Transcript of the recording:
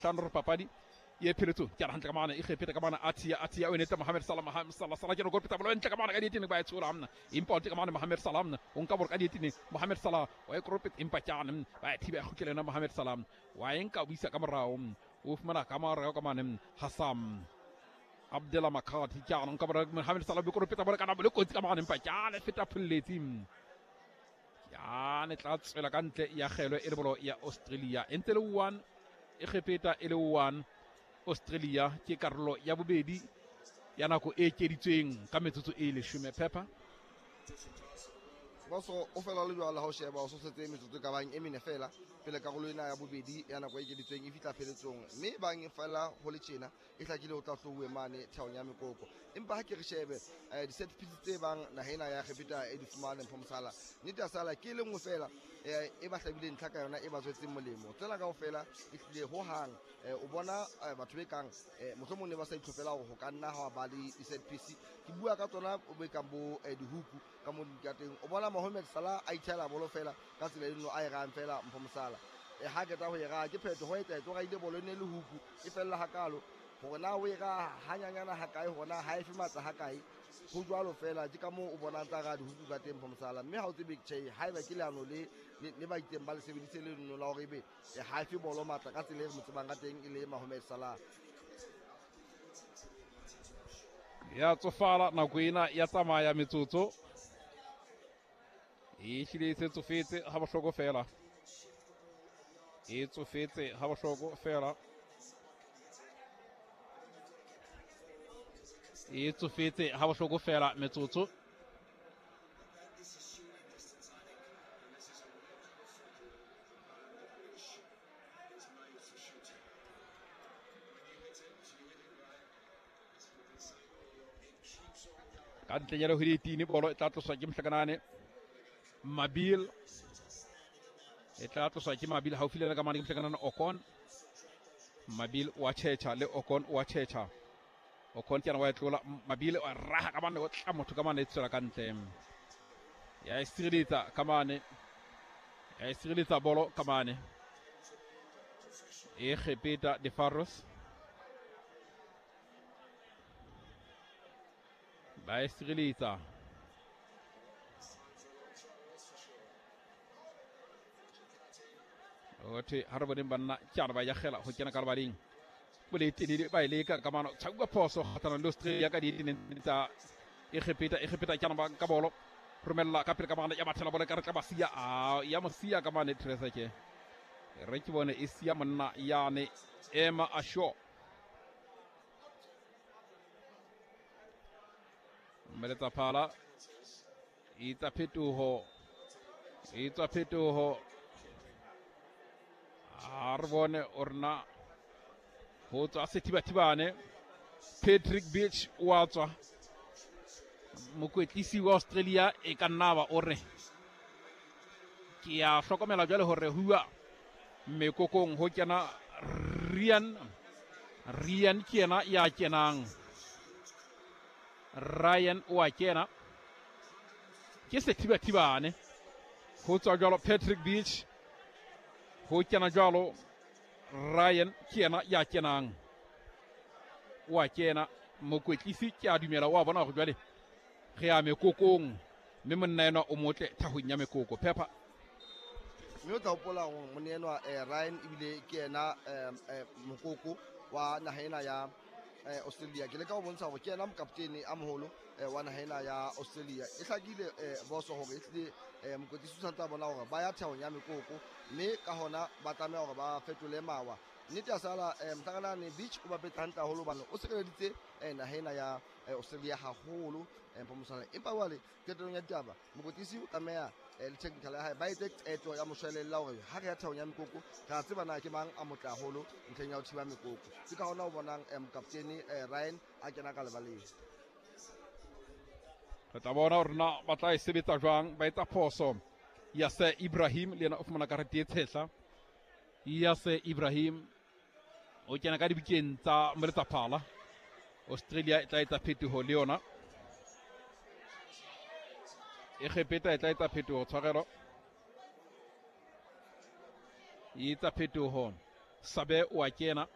Hlano re papadi ye pheletsong ke a hantle ka mane e kgepeta ka mane Atia Atia o enetsa Mohamed Salah Mohamed Salah Salah ke go peta bolo ntle ka mane ka dietene ba e tshola mna empa o ka mane Mohamed Salah mna o nka bolo ka dietene Mohamed Salah wa e koropeta empa tjane ba e thiba e kgutlele yona Mohamed Salah wa e nka o isa ka morao o fumana ka morao ka mane Hassam Abdullah Makati tjane nka bolo Mohamed Salah o koropeta bolo ka nako le kotsi ka mane empa tjane feta pholletsi yane tla tswela ka ntle ya kgelwe e le bolo ya Australia e ntse le 1 Egepeta e le 1 Australia ke karolo ya bobedi ya nako e ekeditsweng ka metsotso e leshome pepper. Boso o fela le jwalo ha o sheba o sosetse metsotso e ka bang e mene fela pele karolo ena ya bobedi ya nako e ekeditsweng e fihla pheletsong, mme bang fela ho le tjena e hlakile o tla hlouwe mane theong ya mekoko. Empa ha ke re shebe di-set piece tse bang naha ena ya Egepeta e di fumane Mpho Mosala, nnete ya sala ke e le nngwe fela e ba hlabileng ntlha ka yona e ba tswetseng molemo. Tsena kaofela e hlile ho hang o bona batho be kang mohlomong ne ba sa itlhophela hore ho ka nna ha ba le di-set piece. Ke bua ka tsona bo kang bo dihuku ka mo di ka teng. O bona Mohamed Salah a itshela bolo fela ka tsela eno a e rang fela Mpho Mosala. Ha qeta ho e raha ke phetho ho etsa o raile bolo e ne le huku e fella hakalo hore na o e raha hanyanyana hakae, hore na ha e fe matla hakae, ho jwalo fela. Ke ka moo o bonang tsa raha dihuku ka teng Mpho Mosala. Mme ha o tsebe tjhe haeba ke leano le le ba itseng ba le sebedise le leno la hore ebe ha e fe bolo matla ka tsela e re mo tsebang ka teng e le Mohamed Salah. Ya tsofala nako ena ya tsamaya metsotso e hlile e se tsofetse ha bohloko fela, e tsofetse ha bohloko fela, e tsofetse ha bohloko fela metsotso. Ka ntle ya ho dietini bolo e tla tloswa ke mohlakanane Mabil, e tla tloswa ke Mabil haufi le ka mane ke mohlakanane Okon. Mabil wa tjhetjha le Okon wa tjhetjha. Okon ke yena wa e tlola, Mabil wa raha ka mane o tla motho ka mane e tswela ka ntle. Ya e sireletsa ka mane, ya e sireletsa bolo ka mane. E kgepeta De Faros. Ba e sireletsa. Othe ha re boneng banna ke ba yagela ho kena ka lebaleng. Bole telele ba e leka ka mano tshauka phoso kgatlhanong le Australia ka dieteneng tsa Egepeta. Egepeta ke ba ka bolo romella ka pele ka mane ya bathela bolo ka re tla ba siya a ya mo siya ka mane Teresa ke re ke bone e siya monna yane Emma Asho. Mmeletsa phala e tsa phetoho, e tswa phetoho. A re bone o rena ho tswa sethibathibane Patrick Beach wa tswa mokwetlisi wa Australia e ka nna ba o re ke a hlokomela jwale hore huwa mekokong ho kena Ryan. Ryan ke yena ya kenang, Ryan o a kena ke sethibathibane ho tswa jwalo Patrick Beach ho kena jwalo Ryan ke yena ya kenang o a kena. Mokwetlisi ke a dumela o a bona hore jwale re ya mekokong mme monna enwa o motle thahong ya mekoko pepper. Mme o tla hopola hore monna enwa Ryan ebile ke yena mokoko wa naha ena ya Australia. Ke leka ho bontsha hore ke yena mokaptene a moholo wa naha ena ya Australia. E hlakile boso hore e hlile mokwetlisi o santse a bona hore ba ya thehong ya mekoko, mme ka hona ba tlameha hore ba fetole mawa. Nnete ya sala mohlakanane Beach o bapetse hantle haholo hobane o sireleditse naha ena ya Australia haholo Mpho Mosala. Empa jwale qetellong ya ditaba mokwetlisi o tlameha le technical ya hae ba etse qeto ya moshwelella hore ha re ya thehong ya mekoko re a tseba na ke mang a motle haholo ntlheng ya ho thiba mekoko. Ke ka hona o bonang mokaptene Ryan a kena ka lebaleng. Re tla bona hore na ba tla e sebetsa jwang. Ba etsa phoso ya se Ibrahim le yena o fumana karete e tshehla. Ya se Ibrahim o kena ka dibukeng tsa Moletsaphala. Australia e tla etsa phetoho le yona. Egepeta e tla etsa phetoho, tshwarelo. E etsa phetoho. Sabe o a kena.